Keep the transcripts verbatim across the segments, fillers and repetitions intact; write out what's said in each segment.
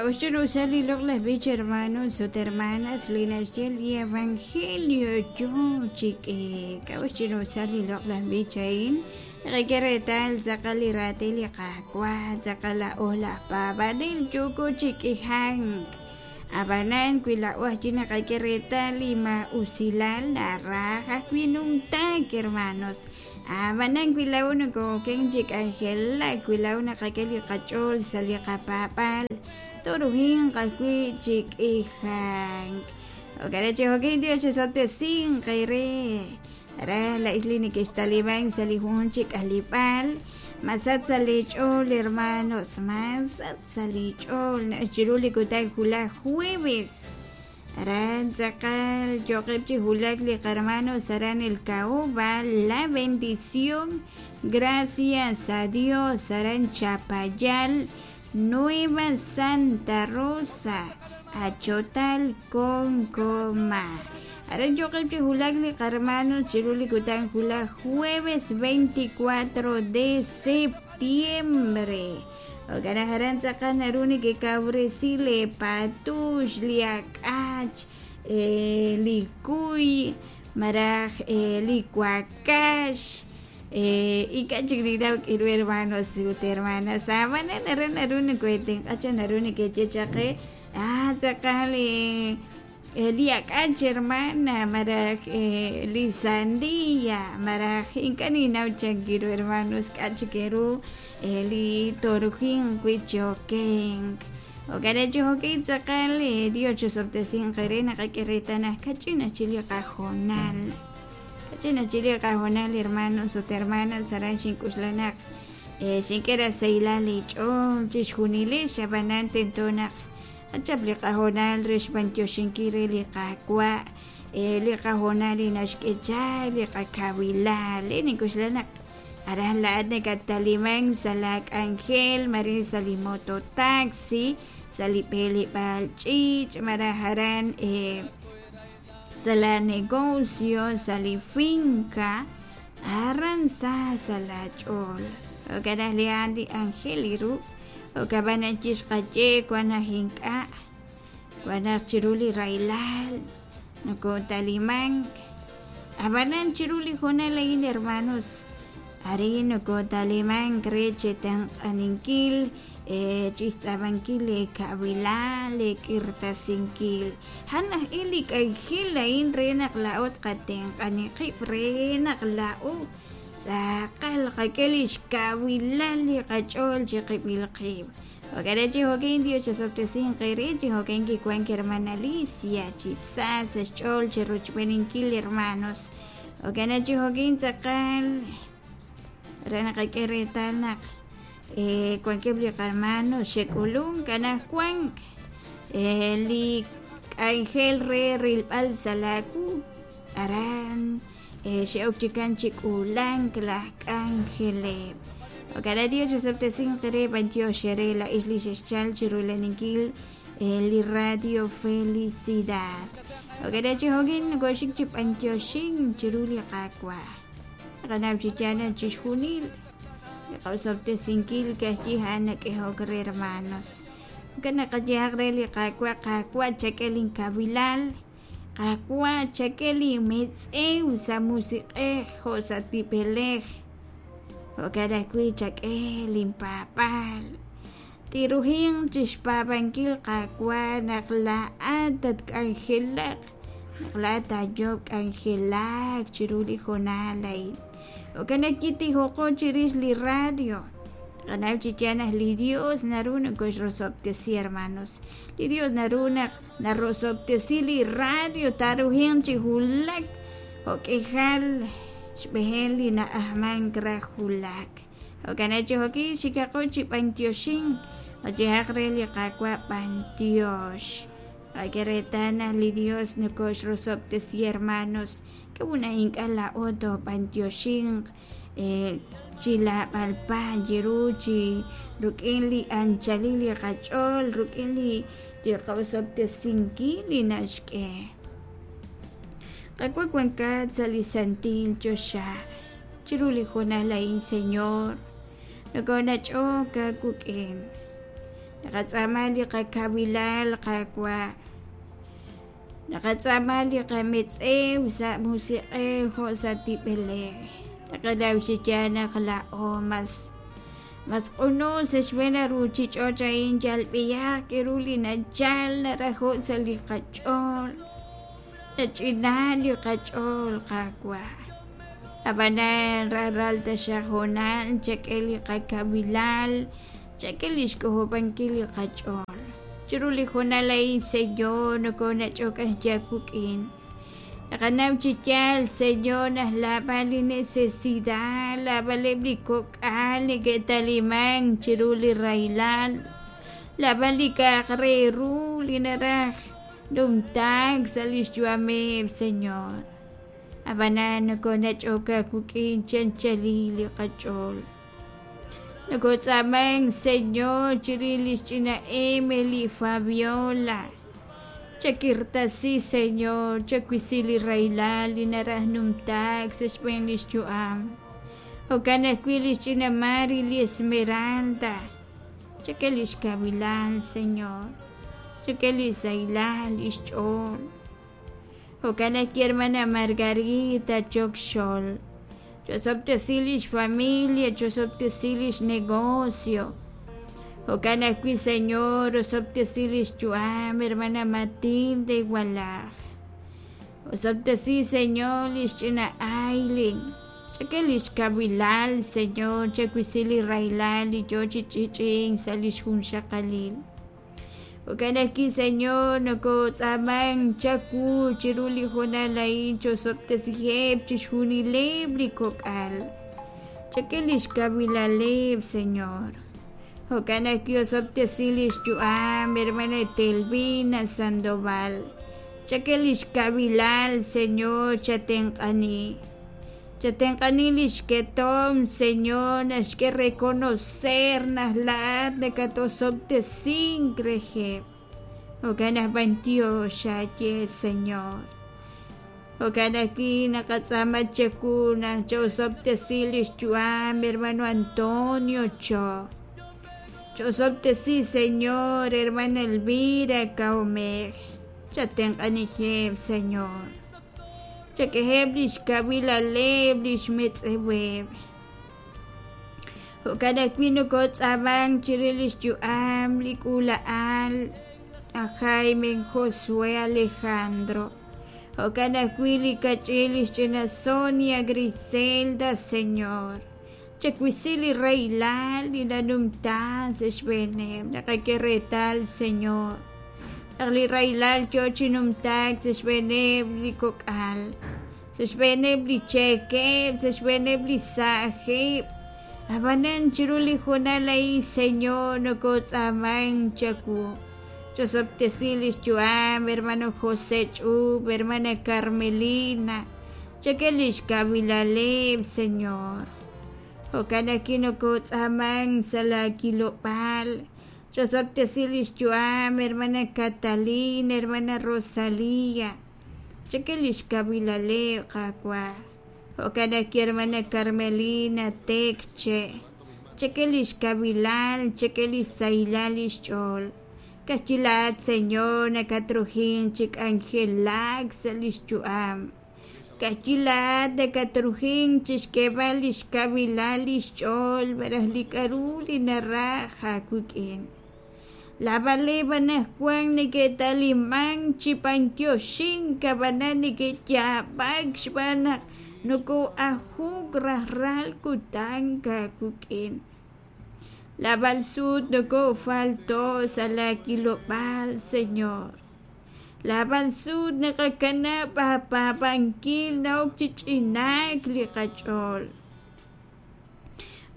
K'a'uxl li loq'laj b'ich hermanos ut hermanas li naxye li evangelio yoo chi k'eek. K'a'uxl li loq'laj b'ich a'in naqak'e reetal tz'aqal li raatin li Qaawa' tz'aqal laa'o laj paab'anel yooko chi k'ijank. Ab'anan wi laa'o ajwi' naqak'e reetal li maa'usilal naraj ajwi' numtaak hermanos. Ab'anan wi laa'o nokooken chi k'anjelak wi laa'o naqak'e li qach'ool sa' li qapaab'aal toruhinq ajwi' chi k'ijank. Jo'kan chi jo'kin Dios chisob'tesinq eere. Ara la isli neke'xtaliban sa' li jun chi k'alib'aal masat sa' li ch'ool hermanos masat sa' li ch'ool chiru li kutan julaj jueves. Aran tz'aqal yo'qeb' chi julak li qarmanos aran el Caoba la bendición gracias a Dios aran Chapayal Nueva Santa Rosa Achotal Concoma. Aran yo'qeb' chi julak li qarmanos chiru li kutan julaj jueves veinticuatro de septiembre. Jo'kan aran tz'aqal naru nekekawresi le patux li ak'ach eh, li kuy maraj eh, li wakax eh, ink'a' chik ninaw k'iru hermanos ut hermanas ab'anan aran naru nokoetenq'acha naru neke'che chaq qe ah tz'aqal eh, li ak'ach hermana maraj eh, li sandía maraj ink'a' ninaw chankiru hermanos k'a' chik eru eh, li torujin wi chokenk. Jo'kan chi jo'kin tz'aqal eh, Dios chisob'tesinq eere naqak'e reetal naq kach'in ajchi li qajonal kach'in ajchi li qajonal hermanos ut hermanas aran xink'uxla naq eh, xink'e rasailal li ch'ool chixjunilix ab'anan tento naq achap li qajonal re xb'antioxinkil re li Qaawa' eh, li qajonal li naxk'e chaq li qakawilal eh, nink'uxla naq aran laa'at nakataliman sa' la k'anjel mare sa' li mototaxi sa' li b'eleb'aal ch'iich' maraj aran eh, sa' la negocio sa' li finca aran sa sa' la ch'ool. Jo'kan li a'an li angel iru jo'kan chixqaye wan naq ink'a' wan naq chiru li rahilal nokotalimank ab'anan chiru li jonal a'in hermanos arin nokotalimank re chetenq'aninkil eh, chixtz'ab'ankil li kawilal li k'irtasinkil han aj il li k'anjel a'in re naq laa'o tqatenq'ani qib' re naq laa'o tz'aqal qak'e li xkawilal li qach'ool chiqib'il qib'. Jo'kan chi jo'kin Dios chisob'tesinq eere chi jo'kin kiwank hermana Alicia chi sa sa' xch'ool chi rochb'eninkil hermanos. Jo'kan chi jo'kin tz'aqal re naqak'e reetal naq eh, wankeb' li qarmanos xe'k'ulunk anajwank eh, li k'anjel re rilb'al sa' laawu aran eh, xe'ok chikan chi k'uulank laj k'anjeleb'. Jo'kan Dios chisob'tesinq eere b'antiox eere la isli xexchal chirulaninkil eh, li Radio Felicidad. Jo'kan chi jo'kin nokoxik chi b'antioxin chiru li Qaawa'. Qanaw chi yaal chixjunil li qasob'tesinkil ka'ajwi' a'an nak'ehok re hermanos. Jo'kan naqayehaq re li Qaawa' Qaawa' chak'e linkawilal Qaawa' chak'e li metz'ew sa' musiq'ej jo' sa' tib'elej. Jo'kan ajwi' chak'e linpaab'aal. Tiruhinq chixpaab'ankil Qaawa' naq laa'at tatk'anjelaq naq laa'at taayob' k'anjelak chiru li jonal a'in. Jo'kan naq kitijoqo chirix li radio. Qanaw chi yaal naq li Dios naru nokoxrosob'tesi hermanos. Li Dios naru naq narosob'tesi li radio taruhinq chi julak jo'k'ijal xb'ejel li na'ajmank raj julak. Jo'kan chi jo'kin xikaqo chi b'antioxin qayehaq re li Qaawa' b'antiox. Qak'e reetal naq li Dios nokoxrosob'tesi hermanos. K'a'ut ink'a' laa'o toob'antioxinq eh, chi lab'alpa yiru chi ruk'in li anchalil li qach'ool ruk'in li li qasob'tesinkil li naxk'e. Qaawa' wankat sa' li santil choxa chiru li jonal a'in Señor nokonach'ok aawik'in. Naqatz'aama li qakawilal Qaawa', naqatz'aama li qametz'ew sa' musiq'ej jo' sa' tib'elej. Naqanaw chi yaal naq laa'o mas mas q'uno sa' xb'een a ruuchich'och' a'in yal b'ihaq k'aru li nachal narajo' sa' li qach'ool, nach'ina li qach'ool Qaawa'. Ab'anan rajlal taxaq hoonal chak'e li qakawilal, chak'e li xk'ojob'ankil li qach'ool. Chiru li hoonal a'in Señor nokonach'ok aawik'in. Naqanaw chi yaal Señor naq laab'al li necesidad, laab'aleb' li kok'al neke'talimank chiru li rahilal, laab'al li k'a'aq re ru li naraj numtaak sa' li xyu'ameb' Señor. Ab'anan nokonach'ok aawik'in chi anchalil li qach'ool. Nokotz'aamank Señor chirix li xch'ina Emily Fabiola. Chakirtasi Señor, chawisi li rahilal li naraj numtaak sa' xb'een li xyu'am. Jo'kan ajwi' li xch'ina Mari li Esmeralda. Chak'e li xkawilal Señor, chak'e li sahilal li xch'ool. Jo'kan ajwi' hermana Margarita Choc Xol. Chosob'tesi li xfamilia, chosob'tesi li xnegocio. Jo'kan ajwi' Señor, osob'tesi li xyu'am hermana Matilde Walaj. Osob'tesi Señor li xch'ina Aylin. Chak'e li xkawilal Señor, chawisi li rahilal li yo chi ch'ich'ink sa' li xjunxaqalil. Jo'kan ajwi' Señor, nokotz'aamank chawu chiru li hoonal a'in chosob'tesiheb' chixjunileb' li kok'al. Chak'e li xkawilaleb' Señor. Jo'kan ajwi' osob'tesi li xyu'am hermana Telvina Sandoval. Chak'e li xkawilal Señor, chatenq'ani. Chatenq'ani li xketom Señor, naxk'e reconocer naq laa'at nakatosob'tesink reheb'. Jo'kan naq b'antiox xaye Señor. Jo'kan ajwi' naqatz'aama chawu naq chosob'tesi li xyu'am hermano Antonio Cho. Chosob'tesi Señor, hermana Elvira Kaomej. Chatenq'anijeb' Señor. Chak'eheb' li xkawilaleb' li xmetz'eweb'. Jo'kan ajwi' nokotz'aamank chirix li xyu'am li k'uula'al aj Jaime Josué Alejandro. Jo'kan ajwi' li kach'in li xch'ina Sonia Griselda Señor. Chawisi li rahilal li nanumta sa' xb'eeneb'. Naqak'e reetal Señor naq li rahilal yo chi numtaak sa' xb'eeneb' li kok'al, sa' xb'eeneb' li cheekeb', sa' xb'eeneb' li saajeb'. Ab'anan chiru li hoonal a'in Señor nokotz'aamank chawu. Chosob'tesi li xyu'am hermano José Ch'ub, hermana Carmelina. Chak'e li xkawilaleb' Señor. Jo'kan ajwi' nokotz'aamank sa' laakilob'aal. Chosob'tesi li xyu'am hermana Catalina, hermana Rosalía. Chak'e li xkawilaleb' Qaawa'. Jo'kan ajwi' hermana Carmelina Tekche. Chak'e li xkawilal, chak'e li sahilal li xch'ool. Kajchi laat Señor nakatrujin chi k'anjelak sa' li xyu'am. Kajchi laat nakatrujin chi xk'eeb'al li xkawilal li xch'ool malaj li k'aru li naraj aawik'in. Laab'aleb' anaqwan neke'talimank chi b'antioxink ab'anan neke'yaab'ak xb'aan naq noko'ajuk rajlal kutan aawik'in. Laab'al sut nokofalto sa' laakilob'aal Señor. Laab'al sut naqakanab' aapaab'ankil na'ok chi ch'inaak li qach'ool.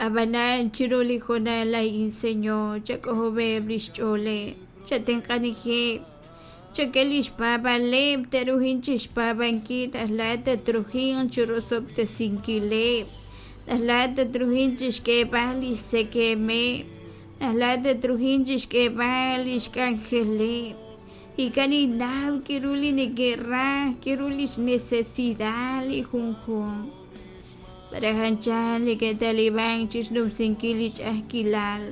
Ab'anan chiru li hoonal a'in Señor, chak'ojob'eb' li xch'ooleb', chatenq'anijeb', chak'e li xpaab'aleb' te'rujin chi xpaab'ankil naq laa'at tatrujin chi rosob'tesinkileb', naq laa'at tatrujin chi xk'eeb'al li xtzekemeb', naq laa'at tatrujin chi xk'eeb'al li xk'anjeleb'. Ikan ninnaw k'aru li neke'raj, k'aru li xnecesidad li junjunq. Para anchal neke'talimank chi xnumsinkil li ch'a'ajkilal.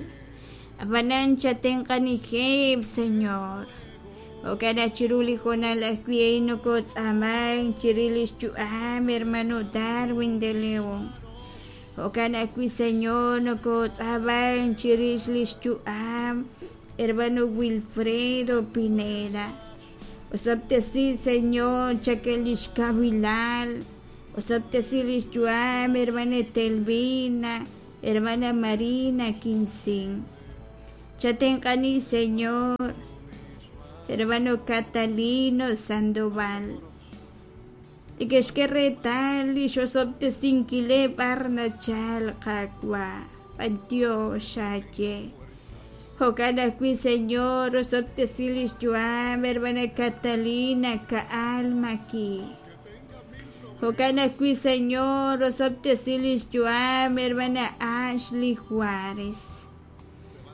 Ab'anan chatenq'anijeb, Señor. Jo'kan naq chiru li hoonal ajwi' a'in nokotz'aamank chirix li xyu'am hermano Darwin de León. Jo'kan ajwi', Señor, nokotz'aamank chirix li xyu'am hermano Wilfredo Pineda. Osob'tesi, Señor, chak'e li xkawilal. Osob'tesi li xyu'am hermana Etelvina, hermana Marina Quincín. Chatenq'ani, Señor, hermano Catalino Sandoval. Neke'xk'e reetal li xosob'tesinkileb' b'ar nachal Qaawa', b'antiox aaye. Jo'kan ajwi', Señor, osob'tesi li xyu'am hermana Catalina Ka'al Maki. Jo'kan ajwi', Señor, osob'tesi li xyu'am hermana Ashley Juárez.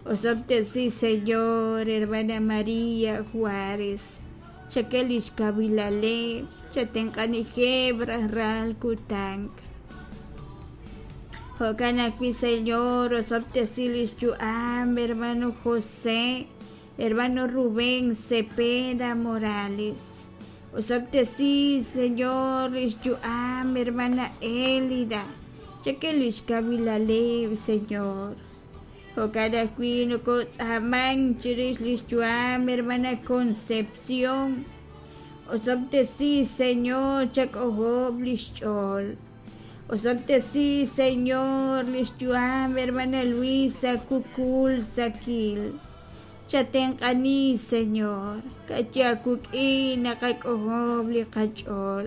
Osob'tesi, Señor, hermana María Juárez. Chak'e li xkawilaleb', chatenq'anijeb' rajlal kutan. Jo'kan ajwi', Señor, osob'tesi li xyu'am hermano José, hermano Rubén Cepeda Morales. Osob'tesi, Señor, li xyu'am hermana Elida. Chak'e li xkawilaleb', Señor. Jo'kan ajwi' nokotz'aamank chirix li xyu'am hermana Concepción. Osob'tesi, Señor, chak'ojob' li xch'ool. Osob'tesi, Señor, li xyu'am hermana Luisa Kukul Sakil. Chatenq'ani, Señor, ka'yakuk'in naqak'ojob' li qach'ool.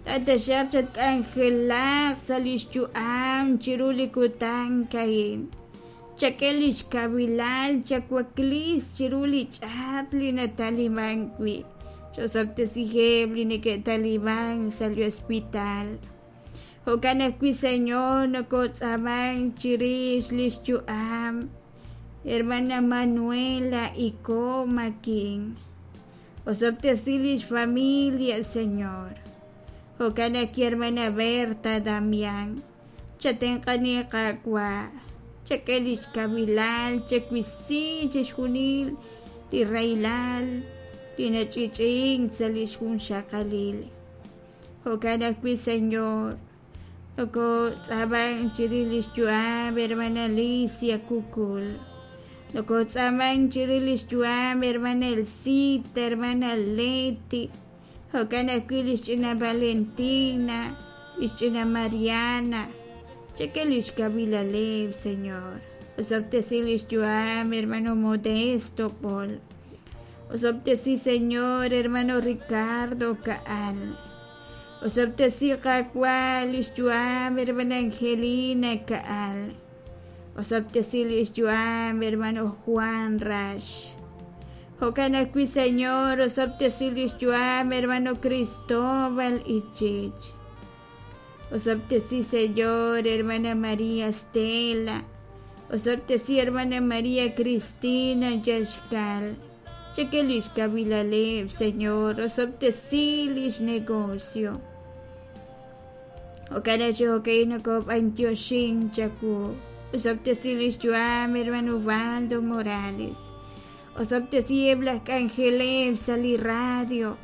Tataxaq chatk'anjelaq sa' li xyu'am chiru li kutan a'in. Chak'e li xkawilal chawaklis chiru li ch'aat li nataliman wi'. Chosob'tesijeb' li neke'taliman sa' li hospital. Jo'kan ajwi', Señor, nokotz'aamank chirix li xyu'am hermana Manuela Iko Makin. Osob'tesi li xfamilia, Señor. Jo'kan ajwi', hermana Berta Damián. Chatenq'ani Qaawa'. Chak'e li xkawilal, chawisi chixjunil li rahilal li nach'i'ch'i'ink sa' li xjunxaqalil. Jo'kan ajwi', Señor, nokotz'aamank chirix li xyu'am hermana Alicia Kukul. Nokotz'aamank chirix li xyu'am hermana Elcita, hermana Leti. Jo'kan ajwi' li xch'ina Valentina, li xch'ina Mariana. Chak'e li xkawilaleb', Señor. Osob'tesi li xyu'am hermano Modesto Paul. Osob'tesi, Señor, hermano Ricardo Kaal. Osob'tesi Qaawa' li xyu'am hermana Angelina Kaal. Osob'tesi li xyu'am hermano Juan Rash. Jo'kan ajwi', Señor, osob'tesi li xyu'am hermano Cristóbal Ichich. Osob'tesi, Señor, hermana María Stella. Osob'tesi, hermana María Cristina Yaxcal. Chak'e li xkawilaleb', Señor. Osob'tesi li xnegocio. Jo'kan aj chijok'in nokob'antioxin chawu. Osob'tesi li xyu'am hermano Ubaldo Morales. Osob'tesi eb' laj k'anjeleb' sa' li radio.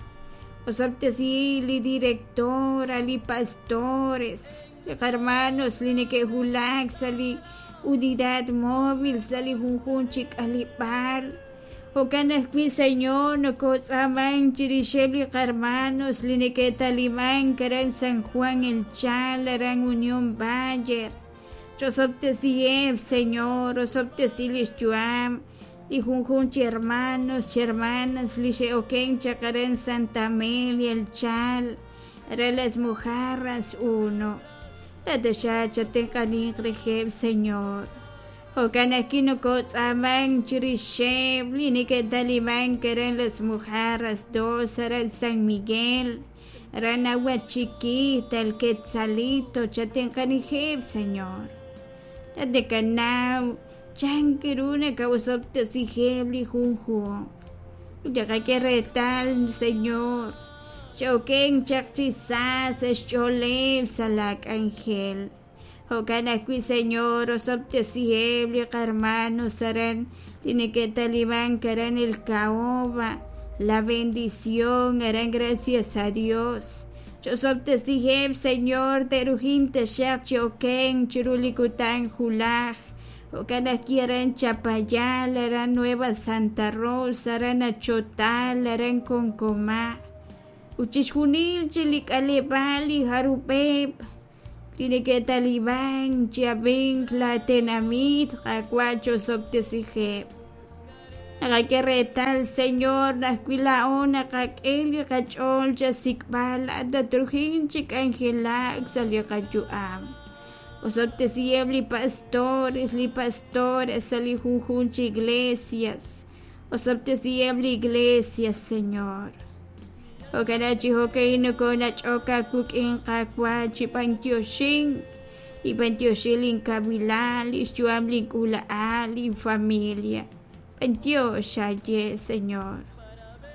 Osob'tesi li directora, li pastores, li hermanos li neke'wulak sa' li unidad móvil sa' li junjun chi k'aleb'aal. Jo'kan ajwi', Señor, nokotz'aamank chirixeb' li hermanos li neke'talimank aran San Juan El Chal, aran Unión Bayer. Chosob'tesiheb', Señor, osob'tesi li xyu'am li junjun chi hermanos, chi hermanas li xe'oken chaq aran Santa Amelia El Chal, aran Las Mojarras uno. Tataxa chatenq'aniq rejeb', Señor. Jo'kan ajwi' nokotz'aamank chirixeb' li neke'talimank aran Las Mojarras dos, aran San Miguel, aran Aguachiquita, El Quetzalito, chatenq'anijeb', Señor. Tatekanaw chankiru nakawsob'tesijeb' li junjun. Utaqak'e reetal, Señor, xe'oken chaq chi sa sa xch'ooleb' sa' la k'anjel. Jo'kan ajwi', Señor, osob'tesiheb' li qahermanos aran li neke'talimank aran El Caoba, La Bendición, aran Gracias a Dios. Ch'osob'tesiheb', Señor, te'rujin taxaq chi okenk chiru li kutan julaj. Jo'kan ajwi' aran Chapayal, aran Nueva Santa Rosa, aran Achotal, aran Konkoma'. Ut chixjunil chi li k'aleb'aal li jarub'eb' li neke'talimank chi ab'ink la tenamit, Qaawa' ch'osob'tesiheb'. Naqak'e reetal, Señor, naq wi laa'o naqak'e li qach'ool chasik'b'al laa'at tatrujin chi k'anjelak sa' li qayu'am. Osob'tesiheb' li pastores, li pastores sa' li junjunq chi iglesias. Osob'tesiheb' li iglesias, Señor. Jo'kan chi jo'ka'in nokonach'ok aawik'in, Qaawa', chi b'antioxink, li b'antioxin linkawilal, li xyu'am link'uula'al, linfamilia. B'antiox aye, Señor.